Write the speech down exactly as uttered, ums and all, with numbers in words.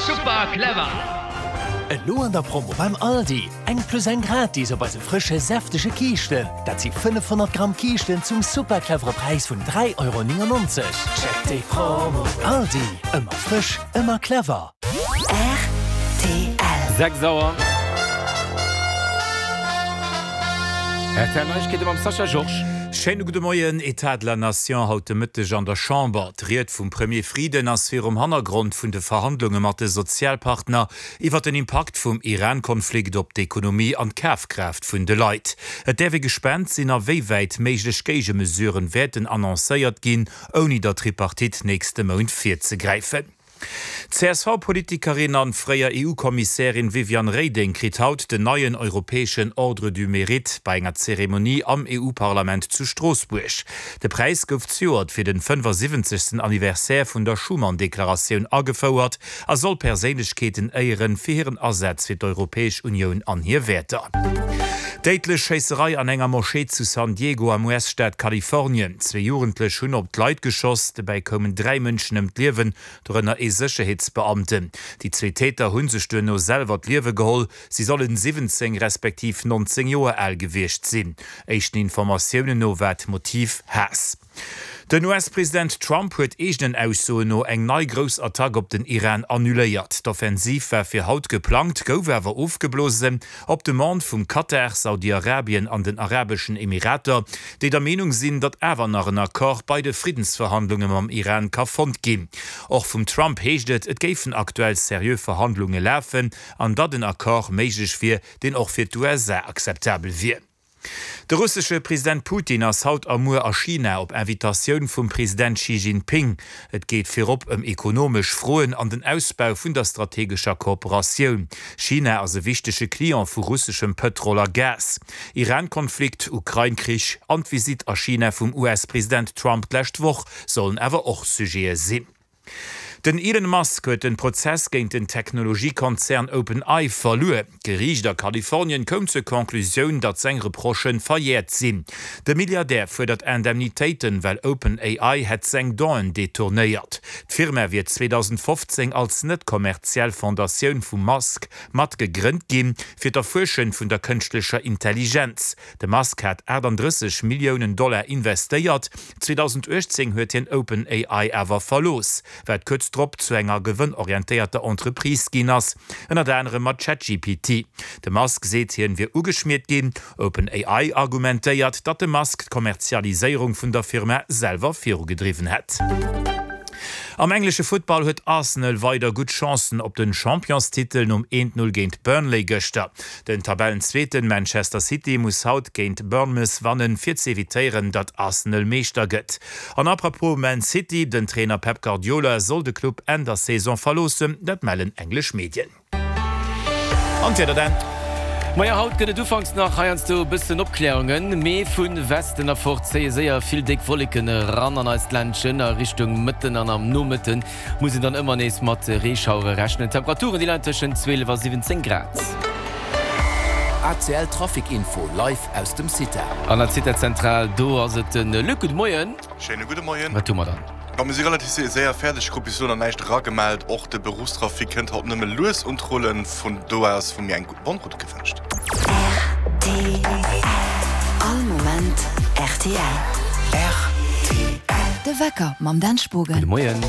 Super clever! Elo an der Promo beim Aldi, eng plus eng gratis op eise frësche säftege Kiischten. Dat si fënnefhonnert Gramm Kiischten zum super clevere Präis vun dräi Euro néngennonzeg. Check déi Promo! Aldi, ëmmer frësch, ëmmer clever. Rtl. Sechs Auer. R T L Neiegkeete mam Sascha Georges. Schéine gudde Moien. État de la Nation haut de Mëtteg an der Chamber. D'Ried vum Premier Frieden ass virum Hannergrond vun de Verhandlunge mat de Sozialpartner iwwer den Impakt vum Iran-Konflikt op d'Ekonomie an d'Kafkraaft vun de Leit. Et däerf ee gespaant sinn, a wéi wäit méiglech Géigemesuren wäerten annoncéiert ginn, ouni der Tripartite nächste Mount virzegräifen. D'C S V-Politikerin an fréier E U-Kommissärin Viviane Reding kritt haut den neien europäeschen Ordre du Mérite bei enger Zeremonie am E U-Parlament zu Stroossbuerg. De Präis gouf zejoert fir den fënnefasiwwenzegsten Anniversaire vun der Schuman-Deklaratioun agefouert a soll Perséinlechkeeten éieren fir hiren Asaz fir d'Europäesch Unioun an hir Wäerter. Déidlech Schéisserei an enger Moschee zu San Diego am U S-Staat Kalifornien. Zwee Jugendlech hunn op d'Leit geschoss, dobäi koumen dräi Mënschen ëm d'Liewen, dorënner ee Sécherheetsbeamten. Déi zwee Täter hu sech duerno selwer d'Liewe geholl. Si sollen siwwenzéng respektiv nonzéng Joer al gewiescht sinn. Éischten Informatiounen no war d'Motiv Haass. Den U S-President Trump huet eegenen Aussoen no eng nei grouss Attack op den Iran annuléiert. D'Offensiv war fir haut geplangt, gouf awer ofgeblosen op Demande vum Katar, Saudi-Arabien an den Arabeschen Emirater, déi der Meenung sinn, datt awer nach en Accord bei de Friddensverhandlunge mam Iran ka fonnt ginn. Och vum Trump heescht et, et géifen aktuell seriö Verhandlunge lafen an datt en Accord méiglech wier, deen och fir d'U S A akzeptabel wier. De russesche President Putin ass haut a muer a China op Invitatioun vum President Xi Jinping. Et geet virop ëm ekonomesch Froen an den Ausbau vun der strategescher Kooperatioun. China ass e wichtege Client vu russeschem Pëtrol a Gas. Iran-Konflikt, Ukrain-Krich an d'Visitt a China vum U S-President Trump d'lescht Woch sollen awer och Sujete sinn. Den Elon Musk huet den Prozess géint den Technologiekonzern OpenAI verluer. D'Geriicht a Kalifornien koum zur Conclusioun, datt seng Reprochë verjäert sinn. De Milliardär fuerdert Indemnitéiten, well OpenAI hätt seng Donnéeën detournéiert. D'Firma wier zweedausendfofzéng als net kommerziell Fondatioun vum Musk mat gegrënnt ginn, fir d'Erfuerschung vun der kënschtlecher Intelligenz. De Musk hat aachtanddrësseg Milliounen Dollar investéiert. zweedausenduechtzéng huet hien OpenAI awer verlooss, wat kuerz drop zu enger gewënnorientéierter Entreprise ginn ass, ënnert anerem mat ChatGPT. De Musk seet, hien wier ugeschmiert ginn. OpenAI argumentéiert, datt de Musk d'Kommerzialiséierung vun der Firma selwer virugedriwwen hätt. Am englesche Futtball huet Arsenal weider gutt Chancen op den Championstitel nom eent Null géint Burnley gëschter. Den Tabellenzweeten Manchester City muss haut géint Bournemouth wannen, fir ze evitéieren, datt Arsenal Meeschter gëtt. An apropos Man City, den Trainer Pep Guardiola soll de Club Enn der Saison verloossen, dat mellen englesch Medien. An d'Wieder dann. Majo, haut gëtt et ufanks nach heiansdo e bëssen Opkläerungen, mee vu Westen erfort zéie séier vill déck Wolleken eran an eist Ländchen. A Richtung Mëtten an am Nomëtte muss een dann ëmmer nees mat Reeschauere rechnen. D'Temperaturen, déi leien tëschent zwielef a siwwenzéng Grad. A C L Trafic Info live aus dem CITA. An der CITA-Zentral, do ass et de Luc. Gudde Moien. Schéine gudde Moien. Wat hu mer dann? Ma mir si relativ séier fäerdeg, krut bis elo nach näischt eragemellt. Och de Beruffstrafic kënnt haut nëmme lues un d'Rullen. Vun do aus vu mir eng gutt Bonne Route gewënscht. R T L. All Moment R T L. R T L. De Wecker mam Dan Spogen. Gudde Moien.